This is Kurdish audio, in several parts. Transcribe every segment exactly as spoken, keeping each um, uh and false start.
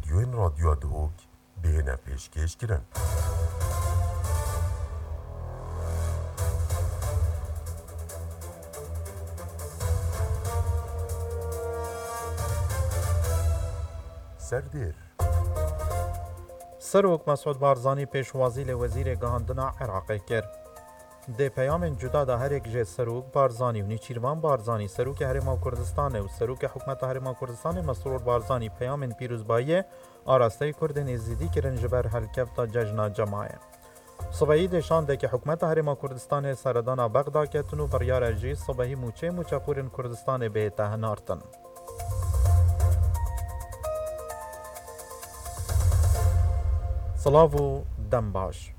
Yên Radyoya Duhok bihêne pêşkêş kirin. Serdêr. Serok Mesûd Barzanî pêşwazî li Wezîrê Gihandina Iraqê kir. Di peyamên cuda de her yek jê Serok Barzanî û Nêçîrvan Barzanî, Serokê Herêma Kurdistanê û Serokê Hikûmeta Herêma Kurdistanê Mesrûr Barzanî peyamên pîrozbayiyê arasteyî Kurdên Êzidî kirin ji ber helkefta Cejna Cemayê. Sibehî dê şandeke Hikûmeta Herêma Kurdistanê seredana Bexda ketin û biryar e jî sibehî mûçeyê mûçexûrên Kurdistanê bihête hinartin. Silav û dem baş.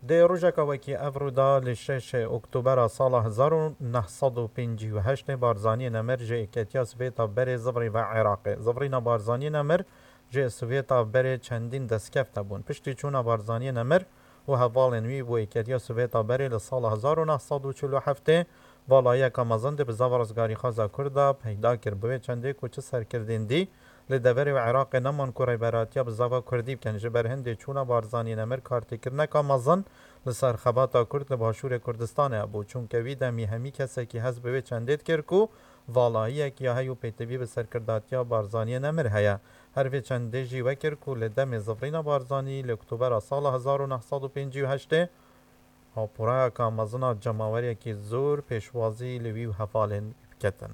Di rojeka wekî evro de li şeşê Oktobera sala hezar û neh sed û pêncî û heştê Barzaniyê Nemir ji Êketiya Sovêta berê zivrî ve Iraqê. Zivrîna Barzaniyê Nemir ji Sovêta berê çendîn destkeftê bûn. Piştî çûna Barzaniyê Nemir û hevalên wî bo Êketiya Sovêta berê li sala hezar û neh sed û çil û heftê, valayiyeka mezin di bizava rizgarîxwaza Kurd de peyda kir. Bi wê çendê ku çi serkirdên dî li deverê û Iraqê neman ku rêberatiya bizava Kurdî bikin, ji ber hindê çûna Barzaniyê Nemir kartêkirineka mezin li ser xebata Kurd li Başûrê Kurdistanê hebû, çunke wî demî hemî kesekî hest bi wê çendê dikir ku valayiyek ya hey û pêtivî bi serkirdatiya Barzaniyê Nemir heye. Her vê çendê jî wekir ku li demê zivrîna Barzanî li Oktobera sala hezar û neh sed û pêncî û heştê, haporayeka mezin a cemaweriyekî zor pêşwazî li wî û hevalên wî biketin.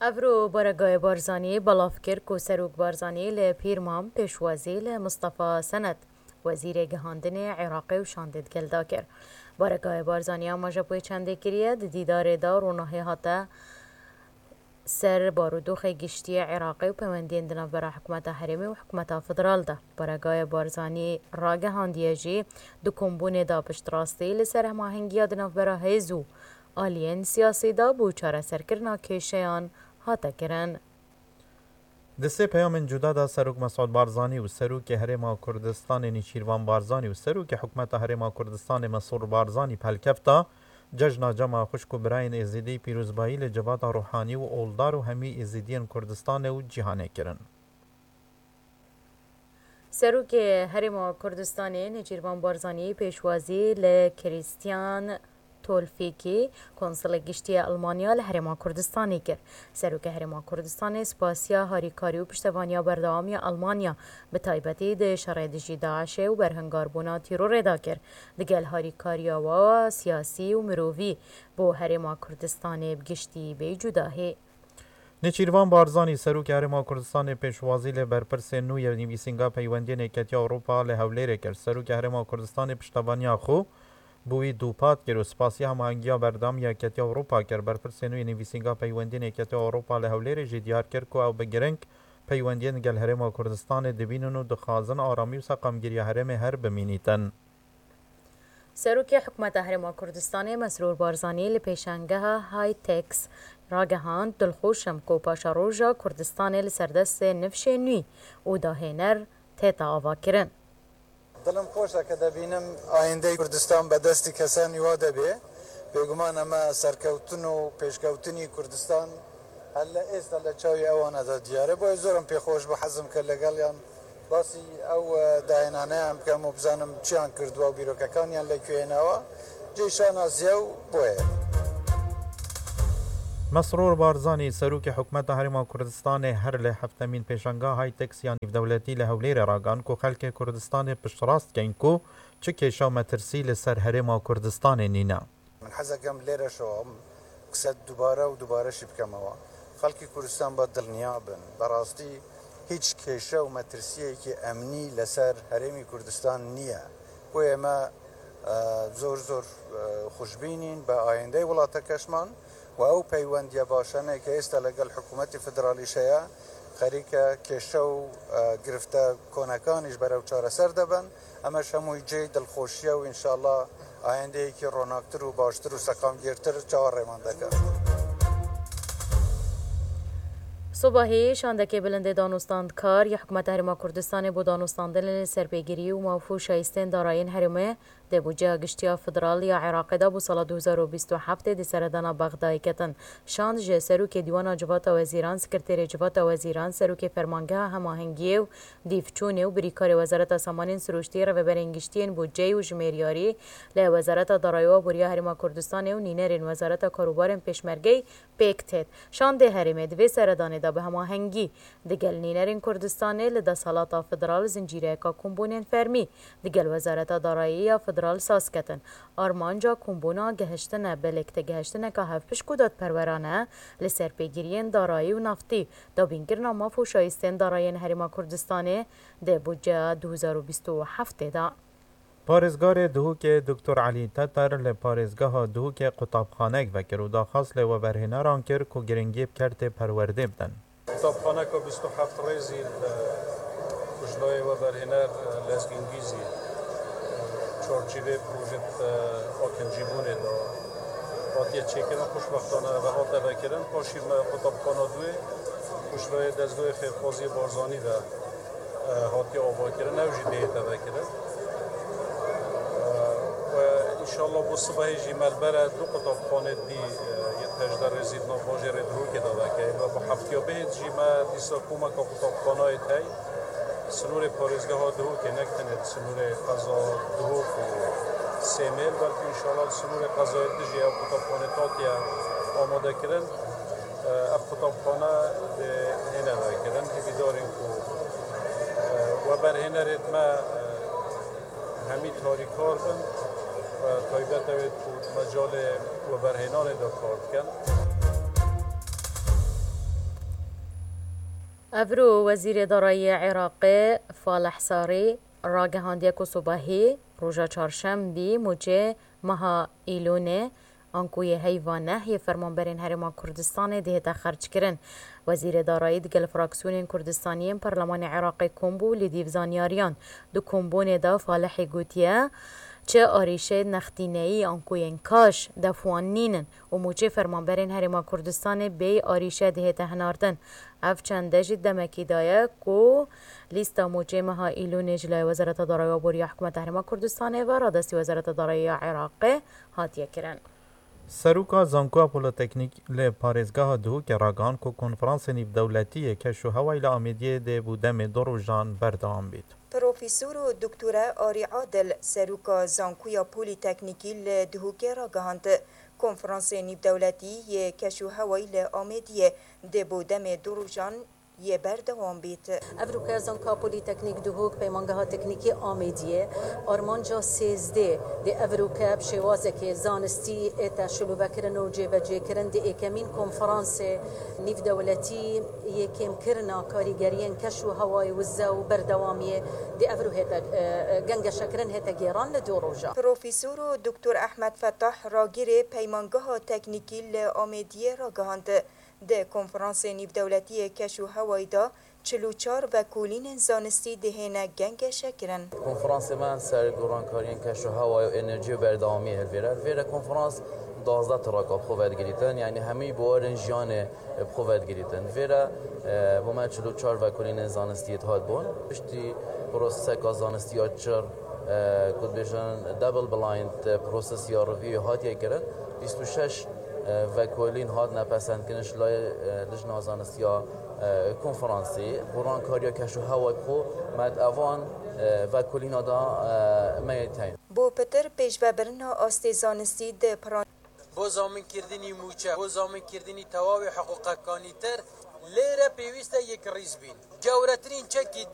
Evro Baregayê Barzanî belav kir ku Serok Barzanî li Pîrmam pêşwazî li Mistefa Sened, Wezîrê Gihandinê Iraqê û şandê digel de kir. Baregayê Barzanî amaje bi wê çendê kiriye, di dîdarê de ronahî hate ser barûdoxê giştî yê Iraqê û peywendiyên di navbera hikûmeta herêmê û hikûmeta federal de. Baregayê Barzanî ragihandiye jî di kombûnê de piştrastî li ser hemahengiya di navbera hêz û aliyên siyasî de bo çareserkirina kêşeyan hate kirin. Di sê peyamên cuda de Serok Mesûd Barzanî û Serokê Herêma Kurdistanê Nêçîrvan Barzanî û Serokê Hikûmeta Herêma Kurdistanê Mesrûr Barzanî pelkefta Cejna Cema xwişk û birayên Êzidî pîrozbayî li civata ruhanî û oldar û hemî Êzidiyên Kurdistanê û cîhanê kirin. Serokê Herêma Kurdistanê Nêçîrvan Barzanî pêşwazî li Krîstiyan Tolfîkî, Konsulê Giştî yê Elmanya li Herêma Kurdistanê kir. Serokê Herêma Kurdistanê spasiya harîkarî û piştevaniya berdewam ya Elmanya, bi taybetî di şerê dijî DAIŞê û berhingarbûna tîrorê de kir. Digel harîkariya wa siyasî û mirovî bo Herêma Kurdistanê bi giştî bê cudahî. Nêçîrvan Barzanî, Serokê Herêma Kurdistanê pêşwazî li berpirsê nû yê Nivîsînga Peywendiyên Yeketiya Ewropa li Hewlêrê kir. Serokê Herêma Kurdistanê piştevaniya xwe bo wî dûpat kir û spasiya hemahengiya berdewam ya Yeketiya Ewropa kir. Berpirsê nû yê Nivîsînga Peywendiyên Yeketiya Ewropa li Hewlêrê jî diyar kir ku ew bi giring peywendiyên gel Herêma Kurdistanê dibînin û dixwazin aramî û seqamgiriya herêmê her bimînîtin. Serokê Hikûmeta Herêma Kurdistanê Mesrûr Barzanî li pêşangeha Hitex ragihand, dilxweş im ku paşeroja Kurdistanê li ser destê nifşê nû û dahêner tête avakirin. Dilim xweş e ke debînim ayîndeyê Kurdistan be destî kesa nû de bê. Bêguman em ê serkewtin û pêşkewtinî Kurdistan helle êsta li çavê ewan de diyar e. Boye zor im pê xweş bû, hez im ke legel yan basî ew, e, dayînane em bikim û bizanim çiyan kirduwa û bîrokekan yan li ku yê newa. Cê şanaziye û boye. Mesrûr Barzanî, Serokê Hikûmeta Herêma Kurdistanê her li heftemîn pêşangeha Hitex ya nîvdewletî li Hewlêrê ragihand ku xelkê Kurdistanê piştrast dikeyn ku çi kêşe û metirsî li ser Herêma Kurdistanê nîne. Min hez dikim lêre şewim qise dubare û dubare jî bikeme we. Xelkê Kurdistan ba dilniya bin. Bi rastî hîç kêşe û metirsiyekî emnî li ser Herêmî Kurdistan niye. Boye me, e, zor zor, e, xweşbînîn bi ayîndeyê welatekeşman û ew peywendiye başane ke êsta legel hikûmetê federalî heye, xerîke kêşe û, e, girifte konekanî ji ber ew çareser dibin. Em ê ji hemûyî cihê dilxweşiye û înşallah ayendeyekî ronaktir û baştir û seqamgirtir çawa rêman dike. Sibahî şandekê bilindê danûstandkar ya Hikûmeta Herêma Kurdistanê bo danûstandinê li ser pêgirî û maf û şayîstên darayî yên herêmê Di budceya giştî ya federal ya Iraqê de bo sala du hezar û bîst û heftê di seredana Bexdayê ketin. Şand ji Serokê Dîwana Civata Wezîran, Sekreterê Civata Wezîran, Serokê Fermangeha Hemahengiyê û Dîvçûnê û birîkarê Wezareta Samanên Sirûştî, Rêveberên Giştî yên Budceyî û Jimeriyarî li Wezareta Darayî û Aboriya Herêma Kurdistanê û nînerên Wezareta Karûbarên Pêşmergeyî pêk têt. Şandê herêmê di vê seredanê de bi hemahengî digel nînerên Kurdistanê li desthilata federal zincîreyeka kombûnên fermî digel Wezareta Darayî ya federal saz ketin. Armanca kombûna gehiştine bi lêktegehiştineka hevpişk û dadperwerane li ser pêgiriyên darayî û naftî, dabînkirina maf û şayîstên darayiyên Herêma Kurdistanê di budceya du hezar û bîst û heftê de. Parêzgarê Duhokê Doktor Elî Teter li parêzgeha Duhokê qutabxanek vekir û daxwaz li weberhêneran kir ku giringî bi kertê perwerdê bidin. Qutabxaneka bîst û heft rêzî li, ku ji layê weberhêner Lezgîn Gîzî, çarçîvê projê, e, akincîbûnê de hatiye çêkirin, xweşbextane ev hate vekirin. Paşî me qutabxana duyê, ku ji layê Dezgehê Xêrxwaziyê Barzanî ve, e, hatiye avakirin, ew jî dihête vekirin. E, we înşallah bo sibehê jî me li ber e du qutabxanê dî, e, yê hejdeh rêzî di nav bajêrê Duhokê de veke. Ve bi heftiya bihêt jî me dîsa komeka qutabxanayê tey. Sinûrê parêzgeha Duhokê, ne tenê di sinûrê qeza Duhok û Sêmêl, belkî înşallah di sinûrê qezayê din jî ew qutabxane hatiye amadekirin. Ev qutabxane dê hêne vekirin. Hêvîdar in ku, e, weberhênerêd me, e, hemî tarîkar bin ve taybet ew ê ku di mecalê weberhênanê de kar dikin. Evro Wezîrê Darayî yê Iraqê Falih Sarî ragihandiye ku sibehî roja çarşembî, mûçê meha Îlûnê, anku yê heyva neh yê fermanberên Herêma Kurdistanê dihête xerckirin. Wezîrê Darayî digel fraksiyonên Kurdistanî yên Perlemanê Iraqê kom bû, li dîv zanyariyan di kombûnê de Falihî gotiye, çi arîşeyên nextîneyî anku yên kaş def wan nînin û mûçê fermanberên Herêma Kurdistanê bêyî arîşe dihête hinardin. Ev çende jî demekî daye ku lîsta mûçê meha Îlûnê ji layê Wezareta Darayî û Aboriya Hikûmeta Herêma Kurdistanê ve radestî Wezareta Darayî ya Iraqê hatiye kirin. Seroka Zankoya Polîteknîk li parêzgeha Duhokê ragihand ku konferansê nîvdewletî yê keş û hewayî li Amêdiyê dê bo demê du rojan berdewam bît. Profesor û Doktore Arî Adil, Seroka Zankoya Polîteknîkî li Duhokê ragihand, konferansê nîvdewletî yê keş û hewayî li Amêdiyê dê bo demê du rojan yê berdewam bît. Evroke Zanka Polîteknîk Duhok, Peymangeha Teknîkî Amêdiyê, armanca sêzdeh dê evroke bi şêwazekê zanistî ête şilovekirin û cêbecêkirin di êkemîn konferansê nîvdewletî yê kêmkirina karîgeriyên keş û hewayê wize û berdewamiyê dê evro hête, e, e, gengeşekirin hête gêran li du roja. Profesor û Doktor Ehmed Fetah, ragirê Peymangeha Teknîkî li Amêdiyê ragihand, di konferansê nîvdewletî yê keş û hewayî de çil û çar vekolînên zanistî dihêne gengeşekirin. Konferansê me ser gorankariyên keş û hewayê û enerjiyê û berdewamiyê hilvêre. Vêre konferans duwazdeh traka bi xwe vedigirîtin, yanî hemî buwarên jiyanê bi xwe vedigirîtin. Vêre, e, bo me çil û çar vekolînên zanistî dihat bûn. Piştî proseseka zanistî ya çir, e, ku dibêjin double blind, e, process ya review hatiye kirin. Bîst û şeş e, vekolîn hatine pesendkirin ji layê, e, Lijna Zanistiya, e, Konferansê. Gorankariya keş û hewayê bi xwe me di evan, e, vekolîna de, e, me yê teyn. Bo pitir pêşvebirina astê zanistî di piran. Bo zaminkirdinî mûçe, bo zaminkirdinî tewawê hiqûqekanî tir, lêre pêwîst e yek rîz bîn. Gewretirîn çekî